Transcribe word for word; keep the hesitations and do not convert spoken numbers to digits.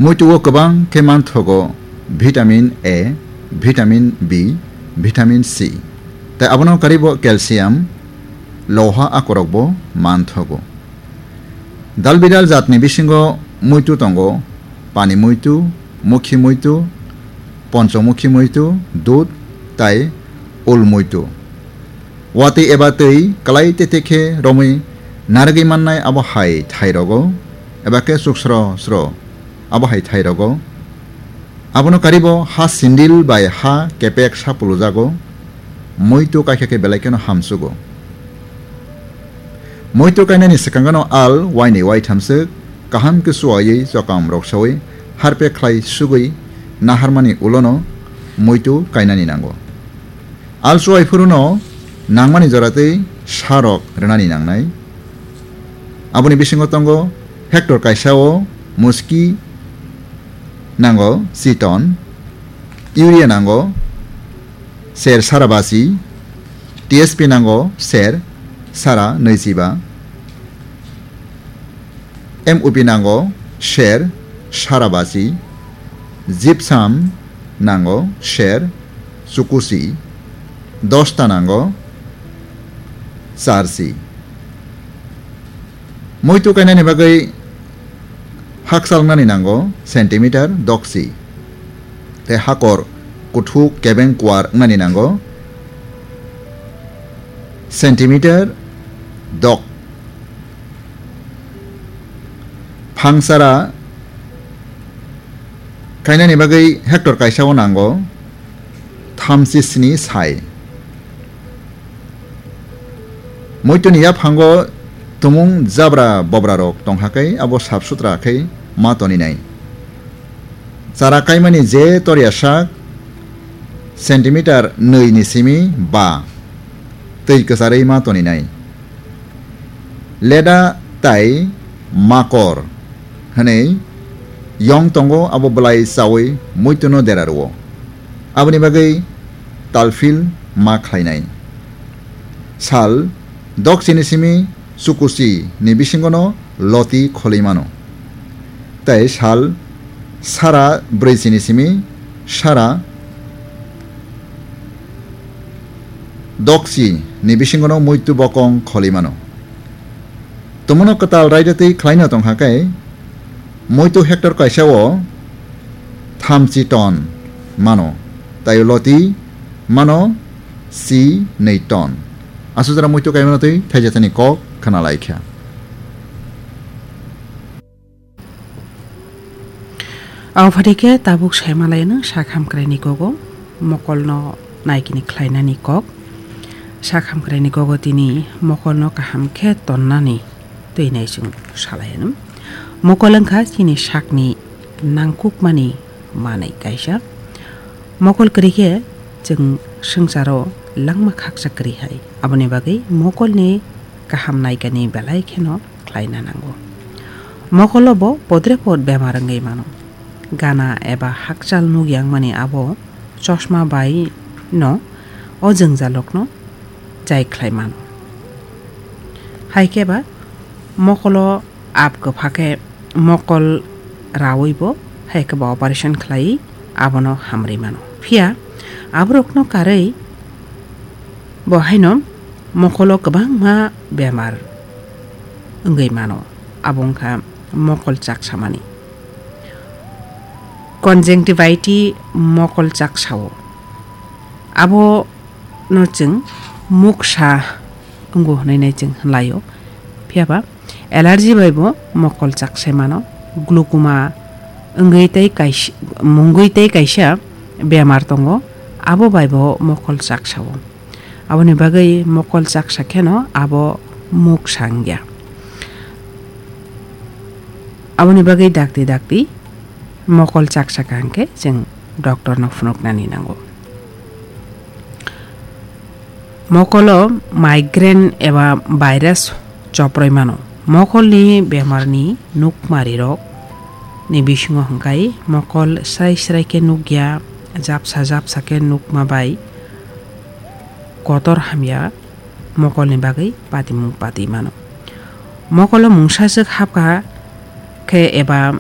Muitu o kwbang khe manthogo vitamin A, vitamin B, vitamin C. Tai abono karibo calcium, loha akorokbo manthogo. Dal bidal jatni bisingo muitu tongo, pani muitu, mukhi muitu, ponchomukhi muitu, dud tai ul muitu. Watwi eba twi kwlai tete khe romwi narwgwi mannai abo hai thairogo, eba khe chuksro sro abo hai thairogo. Abono karibo ha sindil bai ha kepek sa pulujago, muitu kaikha khe belai kheno hamsugo. Muitu kainani swkangano al waini waithamswk kaham khe chuwaiwi chokam rok sawi harpe khlai sugwi naharmani ulono muitu kainani nango. Al chuwai phuruno nangmani joratwi sarok rwnani nangnai. Aboni bisingo tongo hectare kaisao muski nango si ton, urea nango ser sara basi, T S P nango ser sara nwichiba, M O P nango ser sara basi, gypsum nango ser chukusi, dosta nango charsi. Muitu kainani bagwi hakchal wngnani nango centimeter doksi. Tei hakor kuthuk kebeng kuar wngnani nango centimeter dok. Phangsara kainani bagwi hectare kaisao nango thamchi sni sai. Muituni yaphango tumung jabra bobrarok tongkha khe abo sap sutra khe ma toninai. Chara kaimani je torya sak centimeter nwi ni simi ba twi kwcharwi ma toninai. Leda tai makor hwnwi yong tongo, abo bwlai chawi muituno dera rwo. Aboni bagwi talphil ma khlainai. Sal doksini simi chukuchi ni bisingono loti kholwi mano. Tei sal sara brwichini simi sara dokchi ni bisingono muitu bokong kholwi mano. Tumano kwtal raida twi khlaino tongkha khe muitu hectare kaisao thamchi ton mano, tei loti mano si nwi ton. Aswk jora muitu kaimano twi thaijatani kok khna lai kha. Abo phatai khe tabuk saimalaino sak hamkraini kogo mokolno naikini khlainani kok. Sak hamkraini kogo tini mokolno kaham khe tonnani twi nai chwng salai anw. Mokol wngkha chini sakni nangkukmani manwi kaisa. Mokol kwrwi khe chwng swngcharo langma khaksa kwrwi hai. Aboni bagwi mokolni kaham naikani belai kheno khlaina nango. Mokolo bo podre pod bemar wngwi mano. Gana eba hakchal nuk yangmani abo chosma bai no o jwngjalrokno chai khlai mano. Hai khe ba mokolo ab kwpha khe mokol rawi bo hai khe ba operation khlai abono hamri mano. Phiya aborokno karwi bo haino mokolo kwbangma bemar wngwi mano, abo wngkha mokol chaksamani. Conjunctivitis mokol chaksao. Abono chwng muksa wngo hwnwi nai chwng hwnlaio. Phiya ba allergy bai bo mokol chaksai mano. Glaucoma wngwi tei kaisa, mungwi tei kaisa bemar tongo, abo bai bo mokol chaksao. Aboni bagwi mokol chaksa kheno abo muksa wngya. Aboni bagwi dakti dakti mokol chaksa kaham khe chwng doctor no phunuknani nango. Mokolo migraine eba virus choproi mano. Mokolni bemarni nukmarirok ni bisingo hwnkhe mokol srai srai khe nukya, japsa japsa khe nukma bai kotor hamya mokolni bagwi patimung pati mano. Mokolo mungsaswk hapkha khe eba